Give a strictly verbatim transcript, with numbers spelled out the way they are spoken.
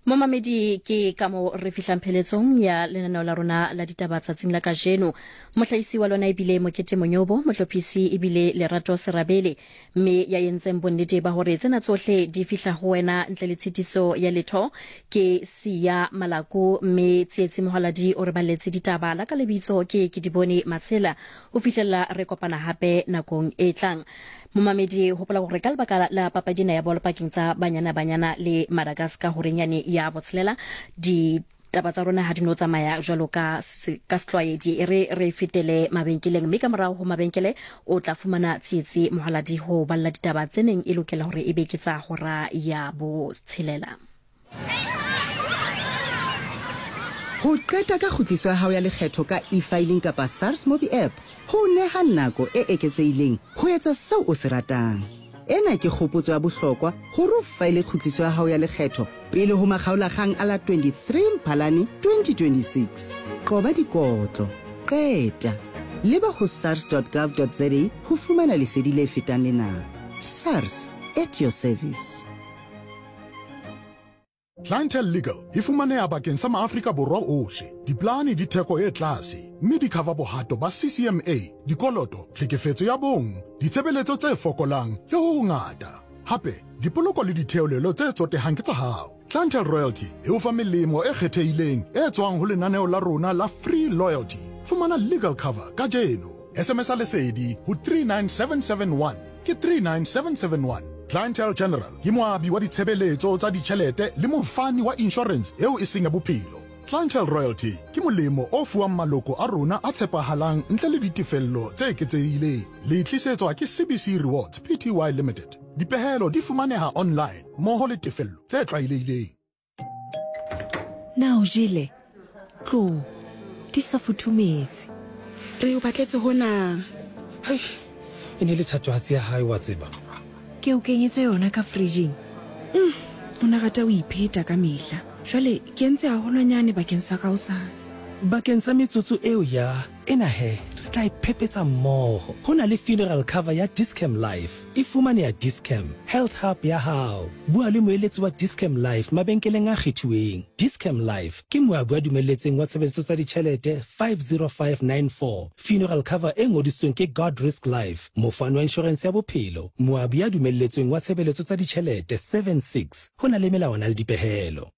Momamedi, ke ka mo re fihlang pheletsong ya lenaneo la rona la ditaba tsatsing la kajeno. Mohlahisi wa lona ebile Mokete Monyobo, mohlophisi ebile Lerato Serabele, mme ya entseng bonnete ba hore tsena tsohle di fihla ho wena ntle le tshitiso ya letho ke Siya Malaku, mme Tsietsi Mohaladi o re balletse ditaba. La ka lebitso ke ke Dibone Matshela. Ho fihlella re kopana hape nakong e tlang. Momamedi, hopola hore ka lebaka la papadi ena ya bolo pakeng tsa Banyana Banyana le Madagascar horeng yane ya botshelela, ditaba tsa rona ha di no tsamaya jwalo ka ka setlwaedi. E re re fetele mabenkeleng, mme ka morao ho mabenkele o tla fumana Tsietsi Mohaladi ho balla ditaba tse neng e lokela hore e be ke tsa hora ya botshelela. Ho qeta ka kgutliso ya hao ya lekgetho ka eFiling kapa SARS Mobi App ho o neha nako e eketsehileng ho etsa seo o se ratang. Ena ke kgopotso ya bohlokwa hore o faele kgutliso ya hao ya lekgetho pele ho makgaolakgang a la twenty-three Mphalane twenty twenty-six. Qoba dikotlo. Qeta. Leba ho sars dot gov dot za ho fumana lesedi le fetang lena. SARS, at your service. Clientele Legal e fumaneha bakeng sa Maafrika Borwa ohle. Diplane di theko e tlase, mme di cover bohato ba C C M A, dikoloto, tlhekefetso ya bong, ditshebeletso tse fokolang le ho hongata. Hape, dipoloko le ditheolelo tse tsotehang ke tsa hao. Clientele Royalty e o fa melemo e kgethehileng e tswang ho lenaneo la rona la Free Loyalty. Fumana legal cover kajeno. S M S a lesedi ho three nine seven seven one ke three nine seven seven one. Clientele General ke moabi wa ditshebeletso tsa ditjhelete le mofani wa insurance eo e seng ya bophelo. Clientele Royalty ke molemo o fuwang maloko a rona a tshepahalang ntle le ditefello tse eketsehileng. Le tlisetswa ke C B C Rewards P T Y Limited. Dipehelo di fumaneha online mmoho le tefello tse tlwaelehileng. Na o jele? Tlo, di sa futhumetse. Re o batletse hona. Hei, e ne le thatohatsi ya hae wa tseba. Ke o kenyetse yona ka fridging. Mm, o ne rata ho ipheta ka mehla. Jwale ke entse haholwanyane bakeng sa ka hosane. Bakeng sa metsotso eo ya ena he, re tla iphepetsa mmoho. Ho na le funeral cover ya Dis-Chem Life. E fumaneha Dis-Chem Health Hub ya hao. Bua le moeletsi wa Dis-Chem Life mabenkeleng a kgethuweng. Dis-Chem Life ke moabi wa dumelletseng wa tshebeletso tsa ditjhelete five zero five nine four. Funeral cover e ngodisitsweng ke Guard Risk Life, mofani wa insurance ya bophelo, moabi ya dumelletsweng wa tshebeletso tsa ditjhelete seven six. Ho na le melawana le dipehelo.